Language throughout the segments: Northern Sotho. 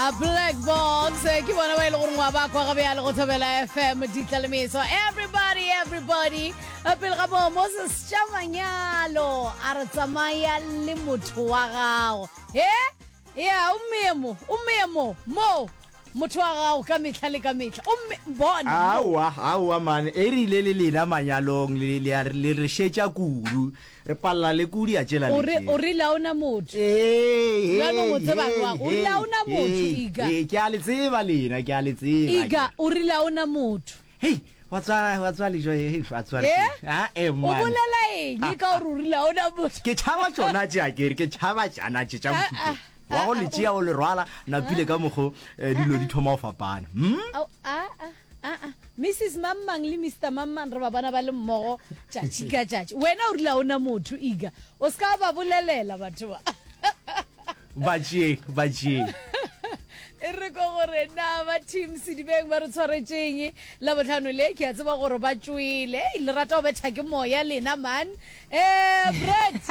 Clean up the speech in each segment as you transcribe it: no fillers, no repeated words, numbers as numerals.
A Black Box eh, ke bona ba e le gore ngwa ba kwa ga bjale go thobela FM ditlalemeso everybody everybody Eh, pele ga moo Moses tša manyalo a re tsamaya le motho wa gago he ya o mmeye mo o mmeye mo mo motho wa gago ka mehla le ka mehla o mme bona mo. Aowa, aowa man, e rile le lena manyalong le, le, a re- le re šetša kudu. Re palela le kudu ya tšela O le re tše. o rile a ona motho. Ee, Bjanong o hei, tseba hei, jwang? O rile hei, a ona motho, hei, Iga. hei, ke a le tseba lena, ke a le tseba. Iga, o rile a ona motho. Hei, wa tswa, wa tswa lejo, hei, wa tswa. Eh? Ah, eh, O man. bolela eng ka gore o rile a ona motho? Ke tšhaba tšona tše akere, ke tšhaba tšana tše tša Ah, mohuta. ah, Wa go ah, le ah, tšea o le rwala, napile ka mokgo eh, dilo di thoma go fapana. Hmm? Ao, ah, ah, ah, ah. Mrs. Mammang le Mister Mammang re ba bona ba le mmogo tšatši ka tšatši. Wena o rile a ona motho, Iga. O se ka ba bolelela batho ba. Ba tšeeng, ba tšeeng. E re ko gore na ba team Sedibeng ba re tshwaretšeng Labohlano le, ke a tseba gore ba tšwele. Ei, le rata go betha ke moya lena man. Eh, Brett.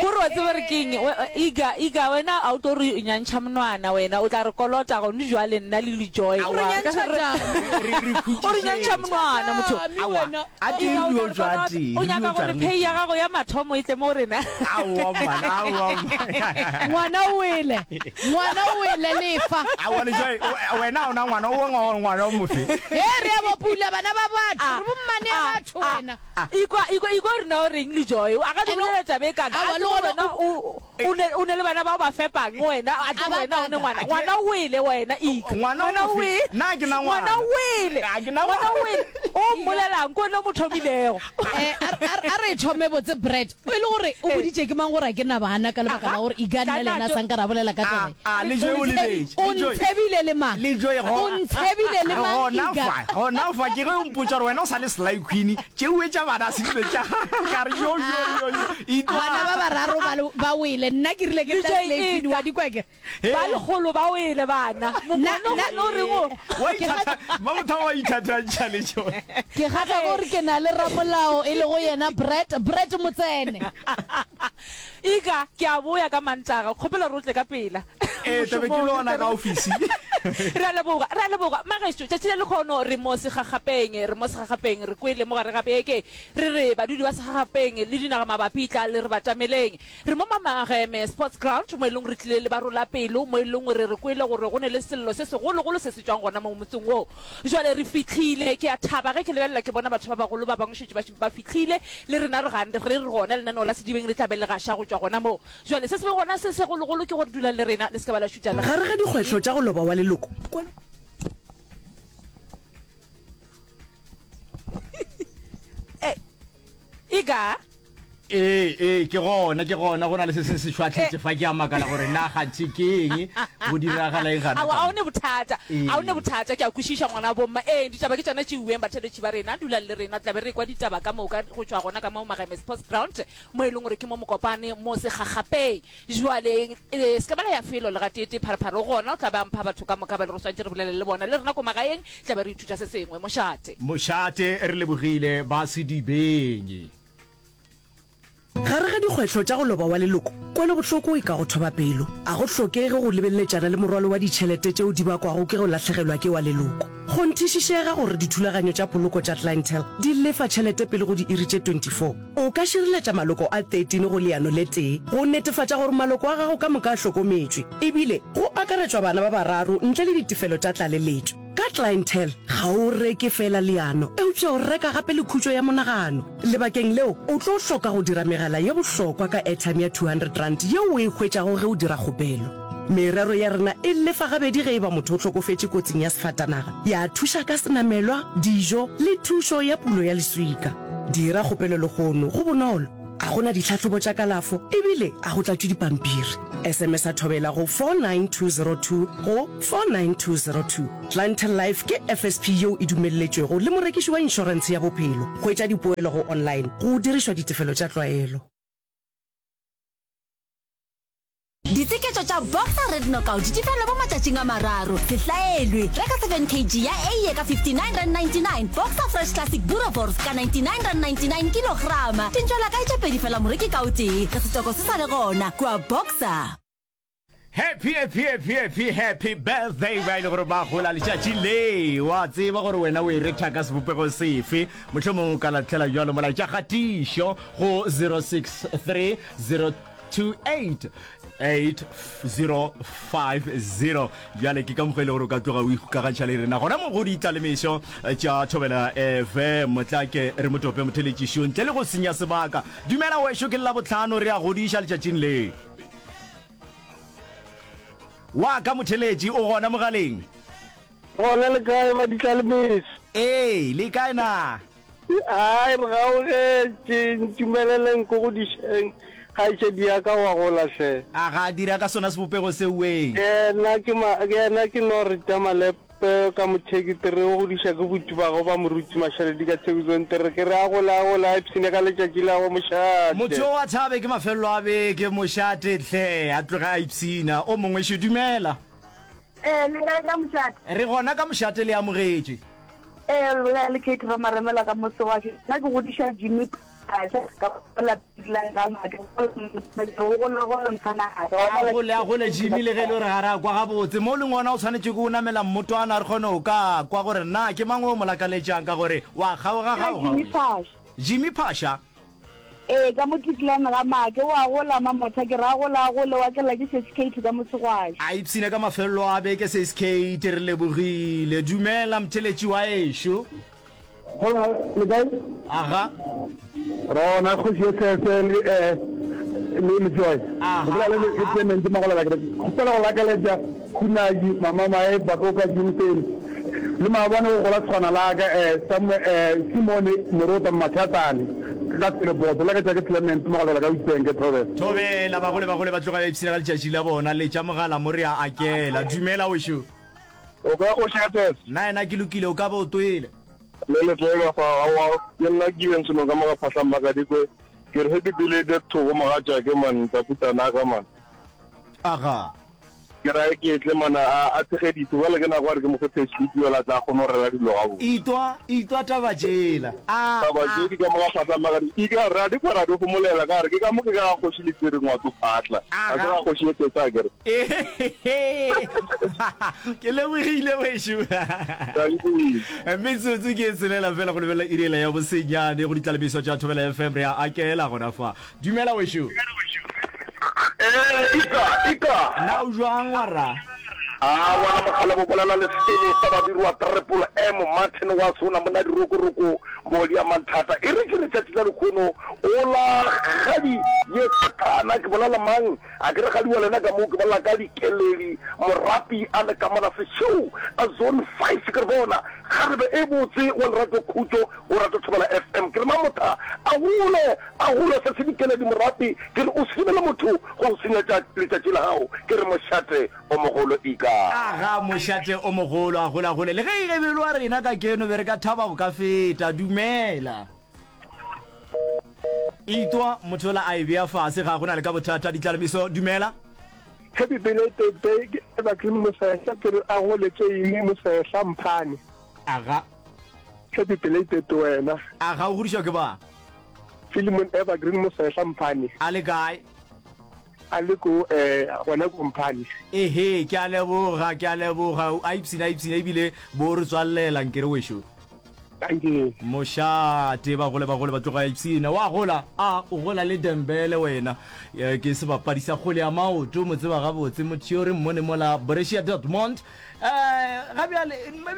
Gore wa tseba re keng, Iga, Iga, wena a o tlo re nyantšha monwana wena, o tla re kolota gone jwale nna le Lejoy. O re nyantšha jang? O re nyantšha monwana motho. Aowa, a tee Iga, o re tla yo re tšwa kolota. tee, O re nyaka yo tšwa gore re le pay ya tee. gago ya mathomo e tle mo go rena. Aowa man, aowa man. Ngwana o wele, ngwana o wele lefa. Aowa Lejoy, wena ga o na ngwana, o ngwana o mofe? He, re a bopula bana ba batho, re bommane ya batho wena. Ikwa, ikwa, ikwa gore na o reng le Joy. A ka di bolela taba e kaka. Aowa, A le tsebe gona wena o, o ne, o ne le bana bao ba fepang wena. A A tsebe ba wena o ne kaka. ngwana. Ngwana o wele wena, Ika. Ngwana Ngwana o o mofe? wele. Nna ke na Ngwana ngwana. o wele. Ga ke na Ngwana o ngwana. wele. O mmolelang? Ke wena o mo thomilego. Eh, a re- a re- a re thome botse Brett. O e le gore o boditše ke mang gore a ke na bana ka lebaka la gore Ika nna le yena a sa nka ra bolela ka taba ye. A, a, le Joy o lebetše. O Le Joy. ntshebile le mang? Le Joy go. O ntshebile le mang Gona Ika? fa, gona fa ke ge o mpotša gore wena o sa le Sly Queen, tšeue tša bana a se dilo tša ka re yo yo yo yo. Itwa. Bana ba bararo ba le- ba wele nna ke rile ke Le tla Joy Slay Queen Ika. wa di kwa ke. Ba lekgolo ba wele bana. Nna- Mokone nna- gona o reng o? Wa ithatha, ba motho wa ithathantšha le Joy. Ke kgatla gore ke na le ramolao e lego yena Brett, Brett Motsene. Ika, ke a boya ka Mantaga, kgopela gore o tle ka pela. Ee, tla be ke le ona ka ofisi. Re a leboga, re a leboga. Magešo, tšatši la lekgono re mo segagapeng, re mo segagapeng, re kwele mo gare ga beke, re re badudi ba segagapeng le dinaga mabapi tla le re batameleng. Re mo Mamageme Sports Ground mo e leng re tlile le ba rola pelo, mo e leng re re kwele gore go ne le sello se segologolo se se tšwang gona mo motseng wo. Jwale re fihlile, ke a thaba ge ke lebelela ke bona batho ba bagolo ba bangwe šetše ba ba fihlile, le rena re gane re re gona lenaneo la Sedibeng le tla be le gaša go tšwa gona moo. Jwale se se be gona se segologolo ke gore dulang le rena, le se ke ba la šutha le Gare ga dikgwehlo tša go loba wa leloko, kwelo. Ega. Ee, ee, ke gona, ke gona, go na le se seng se šwahletše fa, ke a makala gore na kganthe ke eng, go diragala eng gana Aowa, fa. a o ne bothata, Ee. a o ne bothata, ke a kwešiša ngwana bomma. Ee, ditaba ke tšona tšeuweng, batheeletši ba rena, dulang le rena, tla be re ekwa ditaba ka moka go tšwa gona ka mo Mageme Sports Ground, mo e leng gore ke mo Mokopane, mo Segagapeng. Jwale, e, se ka ba la ya felo le gateetee, Pharephare o gona, o tla be a mpha batho ka moka ba e le gore swanetše re bolele le bona, le rena ko magaeng tla be re ithuta se sengwe. Mošate. Mošate, re lebogile, ba Sedibeng. Gare ga dikgwehlo tša go loba wa leloko, kwelobohloko e ka go thoba pelo. A go hlokege go lebeleletšana le morwalo wa ditšhelete tšeo di bakwago ke go lahlegelwa ke wa leloko. Kgonthišišega gore dithulaganyo tša poloko tša Clientele di lefa tšhelete pele go diiri tše 24. O ka šireletša maloko a 13 go leano le tee go netefatša gore maloko a gago ka moka a hlokometšwe, ebile go akaretšwa bana ba bararo ntle le ditefelo tša tlaleletšo. Ka Clientele, ga o reke feela leano, eupša o reka gape le khutšo ya monagano. Lebakeng leo, o tlo hloka go dira megala ye bohlokwa ka airtime ya R200 yeo o e hwetšago ge o dira kgopelo. Merero ya rena e lefa gabedi ge e ba motho o hlokofetše kotsing ya sefatanaga, ya thuša ka senamelwa, dijo le thušo ya pulo ya leswika. Dira kgopelo lehono, go bonolo, ga go na ditlhahlobo tša kalafo ebile ga go tlatšwe dipampiri. SMS-a Thobela go 49202 go 49202. Clientele Life ke FSP yeo e dumelletšwego le morekiši wa inšorentshe ya bophelo. Hwetša dipoelo go online go dirišwa ditefelo tša tlwaelo. Ditseketšo tša Boxer Red Knockout di fela mo matšatšing a mararo. Se hlaelwe! Reka 7 kg ya eiye ka R59.99, Boxer Fresh Classic Boerewors ka R99.99 kilograma. Dintšwela kae tše pedi fela moreki ka o tee, ge setoko se sa le gona kua Boxer. Happy happy happy happy happy birthday ba ile gore ba gola letšatši le wa tseba gore wena o e retha ka sebopego sefe mohlomongwe o ka latlhela bjalo molaetša kgatišo go 063 028 8050 bjale ke ka mokgwa e le gore o ka tloga o ikgokagantšha le rena gona mo go ditlalemišo tša thobela fm motlake re motope motheletšišo ntle le go senya sebaka dumela wešo ke labohlano re a godiša letšatšing le Wa ka motheletši o gona mogaleng? Gona le kae ba ditlalemeso? Ee, le kae na? Ai, re gaugetše, ntumeleleng ko go dišeng, kgaetšedi ya ka wa gola hle. A ga a dira ka sona sebopego seo wee? Yena ke ma, yena ke Norita Malepe. Peo ka motheki tere o godiša ke buti ba go ba moruti Mašaledi ka thekisong tere ke re a gole a gole a ipshine ka letšatši la go mošate. Motho o a thabe ke mafelelo a beke mošate hle a tloge a ipshina o mongwe šo dumela. Ee, le kae ka mošate? Re gona ka mošate le amogetšwe. Ee, le bolela le Kate Ramaremela ka mose wa ke. Nna ke godiša Jimmy A gole, a gole Jimmy, le ge e le gore ga re a kwa gabotse. Mo o leng gona o swanetše ke o namela mmotwana re kgone go ka kwa gore na ke mang o mo lakaletšang ka gore wa kgaoga-kgaoga. Jimmy Phasha. Ee, ka mo Cleveland ga Make. O a gola, Mamotha, ke re a gole, a gole, wa tlela ke Sesi Kate ka mosegwaši. A ipshine ka mafelelo a beke Sesi Kate, re lebogile. Dumela mtheletši wa ešo. Hola, le kae? Aga. Rona kgoši ye sese le eh le le joy. Aha. Go le le Clement Magolela ke kgopela go lakaletša Khunadi mama mae Batoka Jimson le maabane go gola tshwana la ka eh Samuel eh Simone Morota Machatane ka Seleboto la ka tša ke Clement Magolela ka Witbank Thobela. Thobela bagole bagole ba tloga ba ipshina ka letšatši la bona letša mogala mo re a akela. Dumela wešo. O ka o šetses. Nna yena ke lokile, o ka be o twele. Le le twelwa fa, aowa, ke nna Given Seno ka mo ga Phahlang Makadikwe. Ke re happy belated Thoko mogatšake man, Taputanaka man. Aga. Ke ra ke tle man a a tshegeditse, bjale ke nako ya gore ke mo fe payslip yola a tla kgone go rera dilo gabotse. Itwa, itwa taba tšela. A, Taba a. tše di ka mo ga Phahlang Makadikwe. Ke ka re a di kwa ra di homolela ka gore ke ka mo ke ka ga Kgoši Letsiri Ngwato Phatla. Ga se Aga. ga Kgoši ye Thetsa akere. Ke lebogile wešo. Metsotso ke e tshelela fela go lebelela iri ela ya bosenyane go ditlalemiso tša Thobela FM re a akela gona fa. Dumela wešo. Ee, ika, ika. Na o jwang warra? A ngwana mogala bo bolela le selo sa babirwa Triple M Martin wa sona monna dirokoroko moli ya manthata e re ke letšatši la lekgono o la gadi ye sathana ke bolela mang A ke re gadiwa lena ka mo ke bolela ka dikeledi morapi a le ka mola sešeo a zone five ke re bona kgarebe e botse wa lerato khutšo o rata Thobela FM ke re mamotha a gole a gole se se dikeledi morapi ke re o se dumele motho go go senyetša letšatši la gago ke re mošate o mogolo ika. Aga mošate o mogolo a gola gole le ge e gebelwa rena ka keno be re ka thaba go ka feta dumela. Itwa motho yola a e bea fase ga go na le ka bothata ditlalemiso dumela. Happy belated day ke Evergreen Mosehla ke re a gole tšeine Mosehla Mphane. Aga. Happy belated wena. Aga o godišwa ke ba? Philemon Evergreen Mosehla Mphane. A le kae? A le ko eh gona ko Mphane. Ehe ke a leboga ke a leboga a ipshina a ipshina ebile bo re tswallela nkere wešo. Dankie. Mošate, bagole bagole ba tloga ipshina. Wa gola? A, o gola le Dembele wena. Ke sebapadi sa kgwele ya maoto, mo tseba gabotse motho yo re mmone mola Borussia Dortmund. Eh, ga bjale,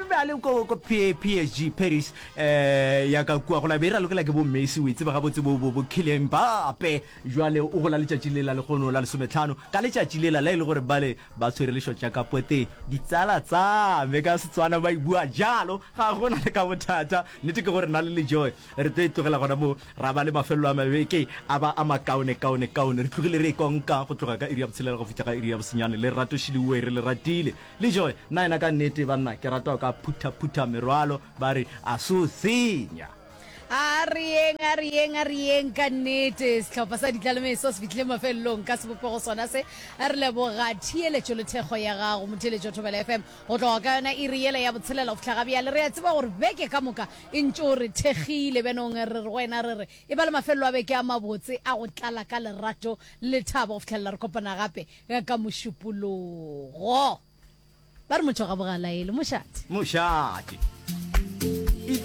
be a le ko, ko PSG, Paris, eh, ya ka kua gola be e ralokela ke bo Messi, o e tseba gabotse bo, bo, bo Kylian Mbappe. Jwale o gola letšatši lela lekgono la lesometlhano, ka letšatši lela la e le gore bale Ba tshwere lešotša ka poteng. Ditsala tsa me ka Setswana ba e bua jalo. Ga go na le ka bothata. Nnete ke gore nna le Lejoe re tlo e tlogela gona moo, ra ba le mafelelo a mabeke a ba a makaone kaone kaone. Re tlogile re e konka go tloga ka iri ya botshelela go fihla ka iri ya bosenyane. Lerato Šiliwe re le ratile. Lejoe, nna yena ka nnete banna ke rata go ka phutha phutha merwalo ba re a so senya. A re yeng, a re yeng, a re yeng ka nnete. Sehlopha sa Ditlalemeso se fihlile mafelelong ka sebopego sona se. Re leboga theeletšo le thekgo ya gago, motheeletši wa Thobela FM, go tloga ka yona iri yela ya botshelela go fihla ga bjale. Re a tseba gore beke ka moka e ntše o re thekgile. Bjanong re re go wena re re e ba le mafelelo a beke a mabotse a go tlala ka lerato le lethabo go fihlelela re kopana gape ka Mošupologo. Ba re motho ga bogalaele. Mošate. Mošate.